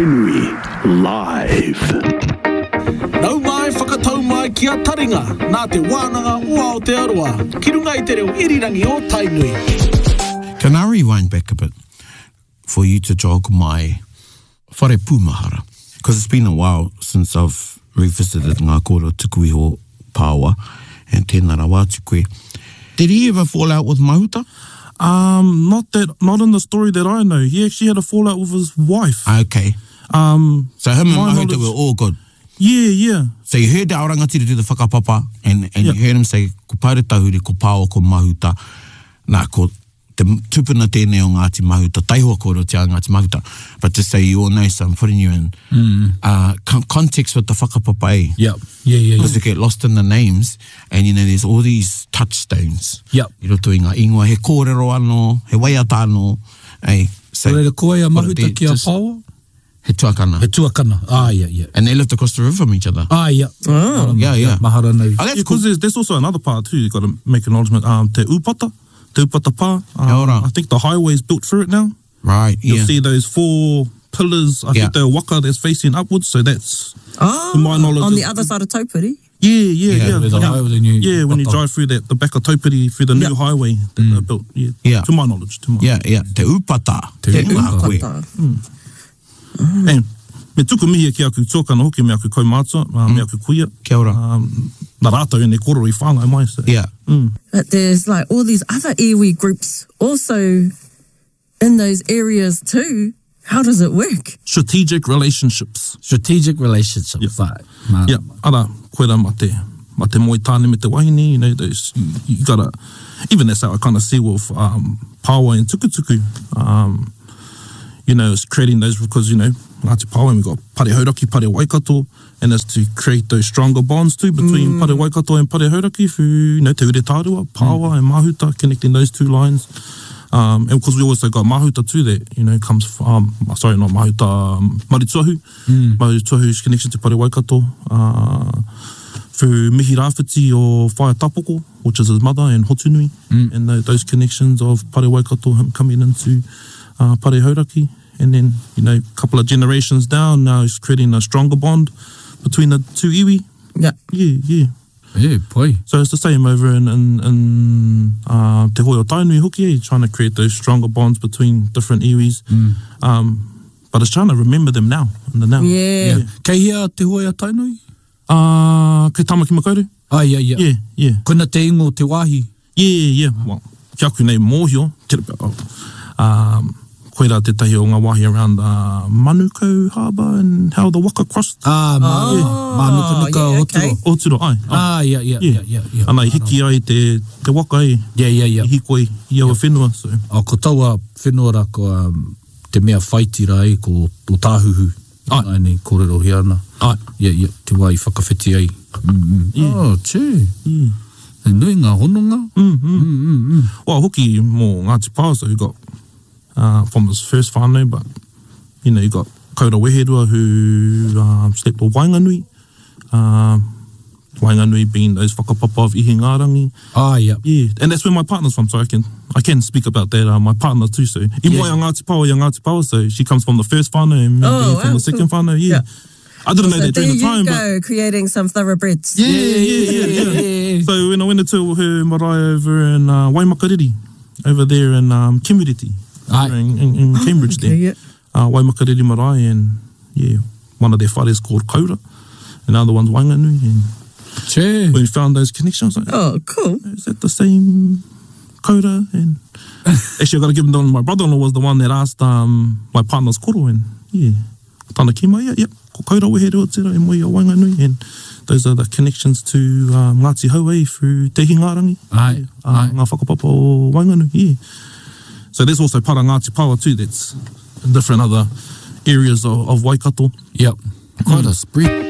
Tainui Live. Nau mai, whakatau mai ki a Taringa, nā Te Wānanga o Aotearoa, ki runga i te reo irirangi o Tainui. Can I rewind back a bit for you to jog my whare pūmahara? Because it's been a while since I've revisited ngā kōrero tuku iho Pāoa, and tēnā rawa atu koe. Did he ever fall out with Mahuta? Um, not that, not in the story that I know. He actually had a fallout with his wife. Okay. Um, So him and my Mahuta knowledge- were all good. Yeah, yeah. So you heard the Aorangatira do the whakapapa and, and you heard him say, ko Paere Tahuri, ko Pāoa, ko Mahuta. Nā, ko te tupuna tēnei o Ngāti Mahuta, taihoa kōrerotia a Ngāti Mahuta. But just so you all know, so I'm putting you in uh, context with the whakapapa, eh? Yeah, yeah, yeah. yeah. Because you get lost in the names and you know there's all these touchstones. Yep. I roto i ngā ingoa, he kōrero anō, he waiata anō. Eh? So, Reira, ko ai a put it Mahuta there, ki a just- Pāoa? He tuakana. He tuakana. Ah, yeah, yeah. And they lived across the river from each other. Ah, yeah. Oh. Yeah, yeah. Mahara nei. Oh, that's Yeah, cool. because there's, there's also another part too. You got to make acknowledgement. Um, Te Upata, Te Upata Pā. Kia ora. I think the highway's built through it now. Right, You'll yeah. see those four pillars. I Yeah. think they're waka that's facing upwards. So that's Oh, to my knowledge. on the is- other side of Taupiri. Yeah, yeah, Yeah, yeah. where the yeah. highway, the new yeah, when you Upata. drive through that, the back of Taupiri through the new Yeah. highway that they built. Yeah, Yeah. To my knowledge, to my Yeah, yeah. Te Upata. Te Tēnā Upata. koe. And me tuku mihi ki aku tuakana hoki, me aku kaumātua, uh, me aku kuia. Kia ora. Um, nā rātou ēnei kōrero i whāngai mai. So. Yeah. But there's like all these other iwi groups also in those areas too. How does it work? Strategic relationships. Strategic relationships. Yeah. Like, Yeah, ara, koera ma te, ma te moe tāne me te wahine, you know, those, you, you gotta, even that's how I kind of see with um, Pāoa and Tukutuku, um, you know, it's creating those because, you know, Ngāti Pāoa, and we got Pare Hauraki, Pare Waikato, and it's to create those stronger bonds too between Pare Waikato and Pare Hauraki through, you know, Te Ure Tārua, Pāoa and Mahuta, connecting those two lines. Um, and because we also got Mahuta too that, you know, comes from, um, sorry, not Mahuta, um, Marituahu, mm. Marituahu's connection to Pare Waikato, uh, through Mihi Rāwhiti o Whaea Tapoko, which is his mother, and Hotunui, and tho- those connections of Pare Waikato, him coming into uh, Pare Hauraki. And then, you know, a couple of generations down, now he's creating a stronger bond between the two iwi. Yeah. Yeah, yeah. Yeah, pai. So it's the same over in, in, in uh, Te Hoi o Tainui hoki, eh, trying to create those stronger bonds between different iwis. Um, but it's trying to remember them now, in the now. Yeah. Yeah. Kei hea Te Hoi a Tainui? Uh, kei Tamaki Makaurau? Ah, yeah, yeah. Yeah, yeah. Koina te ingo te wāhi. Yeah, yeah. Well, ki aku nei mōhio, te rapa, oh, um, koirā tētahi o ngā wāhi around uh, Manukau Harbour and how the waka crossed. Ah, mā, Oh, mānukanuka yeah, o okay. Oturo. Oturo, ai. ai. Ah, yeah, yeah, yeah, yeah, yeah. Ana, i hiki ai te, te waka e, Yeah, yeah, yeah. i hikoi i aua whenua. So. Oh, ko taua whenua rā, ko um, te mea whaitira ai, ko o Tāhuhu. Ai. Ai nei, kōrero hea ana. Ai. Yeah, yeah, te wā i whakawhiti ai. Mm, mm. Yeah. Oh, tē. Yeah. He nui ngā hononga. Mm, mm. Mm, mm. Well, hoki mō Ngāti Pāoa, so you got uh, from his first whānau, but you know, you got Kaura Weherua who um, slept with Waenganui. Um, Waenganui being those whakapapa of Ihingārangi. Ah, yeah. Yeah, and that's where my partner's from, so I can I can speak about that. Uh, my partner too, so i moe a Ngāti Pāoa i a Ngāti Pāoa, so she comes from the first whānau and me Oh, being from wow, the second cool. whānau, yeah. Yeah. I didn't know So that there during the you time, but go, creating some thoroughbreds. yeah, yeah, yeah, yeah. So when I went into her marae over in uh, Waimakariri, over there in um, Kimuriti, Aye. in, in, in Cambridge there, Okay, yeah. uh, Waimakariri marae, and yeah, one of their whares called Kaura, and the other one's Waenganui, and Tē. we found those connections. I was like, Oh, cool. is that the same Kaura? And actually, I got to give them my brother-in-law was the one that asked um, my partner's koro, and yeah, tana ki mai, yeah, yep, ko Kaura weherua tērā e moe i a Waenganui, and those are the connections to um, Ngāti Hauei through Te Hingārangi, Ai, uh, ai. ngā whakapapa o Waenganui, yeah. So there's also part of Ngāti Pāoa too, that's in different other areas of, of Waikato. Yep. Quite a spread.